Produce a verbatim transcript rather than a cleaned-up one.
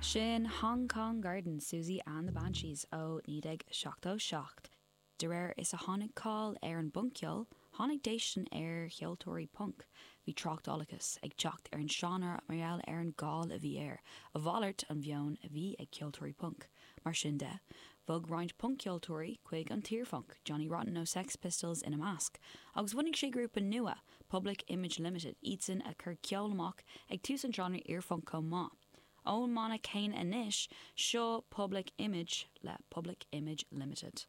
Sin Hong Kong Garden Siouxsie and the Banshees ó naoi déag seachtó seacht. De réir is a tháinig cáil ar an bpunc-cheol, tháinig déistin ar cheoltóirí punc. Bhí tráchtálachas ag teacht ar an seánra mar gheall ar an gcáil a bhí air, a mhalairt an mheon a bhí ag ceoltóirí punc. Mar sin de, bhog roinnt punc-cheoltóirí chuig an t-iarphunc, Johnny Rotten ó Sex Pistols ina measc, agus bhunaigh sé grúpa nua, Public Image Limited, iadsan a chuir ceol amach ag tús an seánra iarphunc chomh maith. Ón mbanna céanna anois, seo Public Image le Public Image Limited.